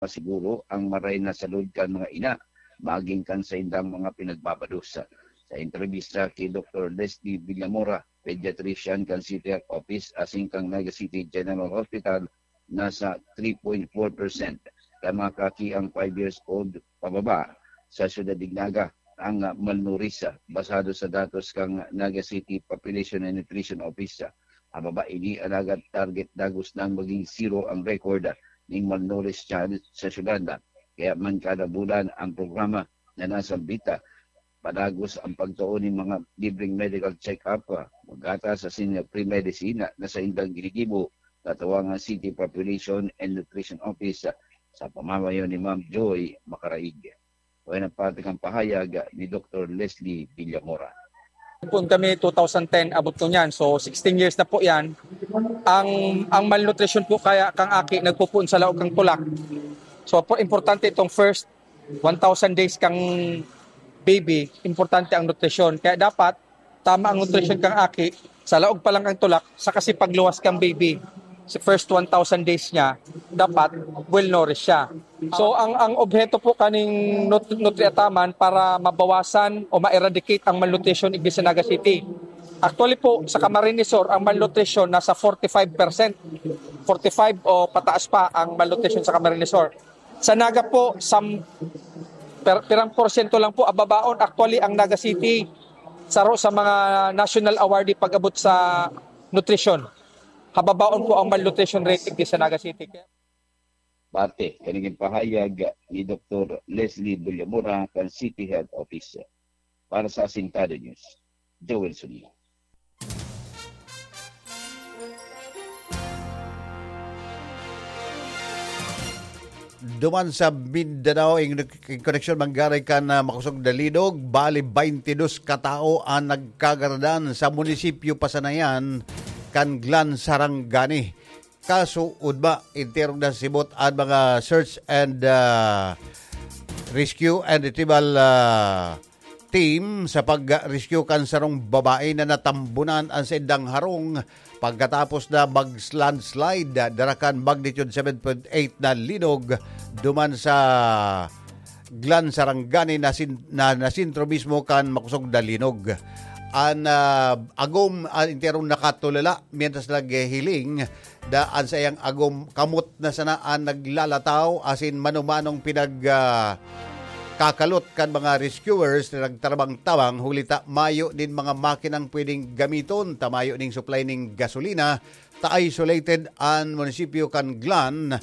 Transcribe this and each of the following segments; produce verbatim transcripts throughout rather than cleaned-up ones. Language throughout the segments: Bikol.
masiguro ang maray na salud kan mga ina, maging kan saindang mga pinagbabados. Sa entrevista ki Doktor Leslie Villamora, pediatrician kan City Health Office asin kan Naga City General Hospital, nasa three point four percent kan mga kaki ang five years old pababa sa Syudad nin Naga ang malnourished, basado sa datos kan Naga City Population and Nutrition Office. Pababa ini, alagad target dagos nang maging zero ang record ning malnourished child sa syudad. Kaya man, kada bulan ang programa na nasambita, padagos ang pagtao nin mga libreng medical check-up, ah, paggatas asin free medicine na saindang ginigibo sa Tawangan City Population and Nutrition Office, ah, sa pamamayo ni Ma'am Joy Macaraig. Kaya nagpatag ang pahayag ni Doktor Leslie Villamora. Pun kami two thousand ten, abot ko niyan. So, sixteen years na po yan. Ang, ang malnutrition po kaya kang aki nagpupuon sa laog kang tulak. So, po, importante itong first one thousand days kang baby, importante ang nutrisyon. Kaya dapat, tama ang nutrisyon kang aki, sa laog pa lang kang tulak, sa kasi pagluwas kang baby, sa first one thousand days niya, dapat well nourished siya. So, ang, ang obheto po kaning nut-, Nutri-Ataman para mabawasan o ma-eradicate ang malnutrition igdi sa Naga City. Actually po, sa Camarines Sur, ang malnutrition nasa forty-five percent. Forty-five o pataas pa ang malnutrition sa Camarines Sur. Sa Naga po, sam-, per-, pirang porsyento lang po ababaon. Actually, ang Naga City, saro sa mga national awardee pag-abot sa nutrisyon. Hababaon po ang malnutrition rate igdi sa Naga City. Parte, kanigin pahayag ni Doktor Leslie Bullamura kan City Health Office. Para sa Asintado News, Joel Suni. Duman sa Mindanao, in, in koneksyon manggari kan, ah, makosog na linog, bali twenty-dos katao ang nagkagaradan sa munisipyo Pasanayan kan Glan Sarangani. Kaso, udma, enterong nasibot ang mga search and, ah, rescue and retrieval, ah, team sa pag-rescue kan sarong babae na natambunan ang saindang harong pagkatapos na mag-landslide dara kan magnitude seven point eight na linog duman sa Glan Sarangani na sin-, na, na sentro mismo kan makosog na linog. An, ah, agom, ah, enterong nakatulala, mientras naghihiling, da an saiyang agom kamot na sana an naglalataw asin mano-manong pinag, ah, kakalot kan mga rescuers na nagtabang-tabang, huli ta mayo nin mga makinang pwedeng gamiton ta mayo ning supply ning gasolina, ta isolated an munisipyo kan Glan.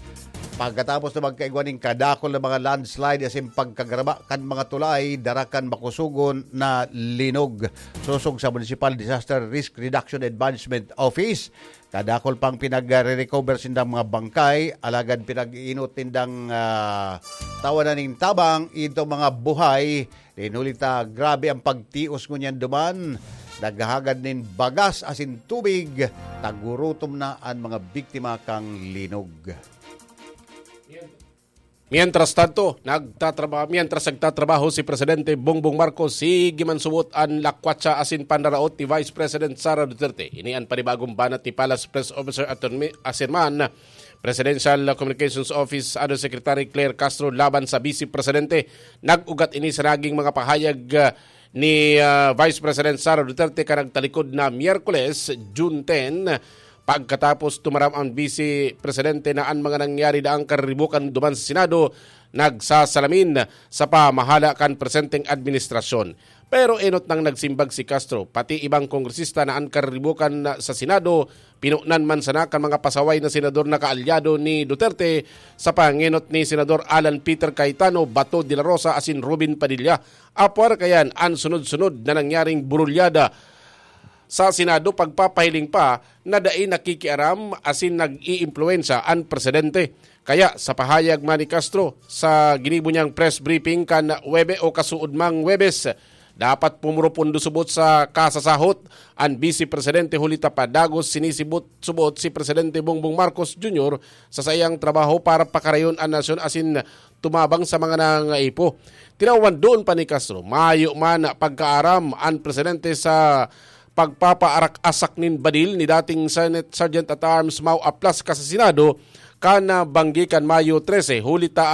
Pagkatapos na magkaigwa nin kadakol na mga landslide asin pagkagraba kan mga tulay, dara kan makosogon na linog. Sosog sa Municipal Disaster Risk Reduction and Management Office, kadakol pang pinagre-recover sindang mga bangkay, alagad pinag-iinot nindang, ah, tawanan nin tabang itong mga buhay. Nin huli ta, grabe ang pagtios ngunyan duman. Naghahagad nin bagas asin tubig, nagurutom na an mga biktima kan linog. Mientras tanto, nagtatraba-, mientras nagtatrabaho si Presidente Bongbong Marcos, sige man subot an lakwatsa asin panraraot ni Vice President Sara Duterte. Ini an panibagong banat ni Palace Press Officer Attorney Asirman, Presidential Communications Office Undersecretary Claire Castro laban sa Vice Presidente. Nag-ugat ini sa naging mga pahayag, ah, ni, ah, Vice President Sara Duterte kan nagtalikod na Miyerkules, June ten, pagkatapos tumaram ang Vice Presidente na an mga nangyari daang kariribukan duman sa Senado nagsasalamin sa pamahala kan presenteng administrasyon. Pero enot nang nagsimbag si Castro, pati ibang kongresista na an kariribukan sa Senado, pinunan man sana kan mga pasaway na senador na kaalyado ni Duterte sa pangenot ni Senador Alan Peter Cayetano, Bato de la Rosa asin Robin Padilla. Apwar kayan an sunod-sunod na nangyaring burulyada sa Senado, pagpapahiling pa na dai nakikiaram asin nag-iimpluwensya an presidente. Kaya sa pahayag man ni Castro sa ginibo niyang press briefing kan Webe o kasuodmang Webes, dapat pumurupundo subot sa kasasahot an Vice Presidente, huli ta padagos sinisibot-subot si Presidente Bongbong Marcos Junior sa saiyang trabaho para pakarayon an nasyon asin tumabang sa mga nangangaipo. Tinawan doon pa ni Castro, mayo man pagkaaram an presidente sa pagpapaarak-asak nin badil ni dating Senate Sergeant at Arms Mau Aplasca sa Senado, kan banggi kan Mayo trese, huli ta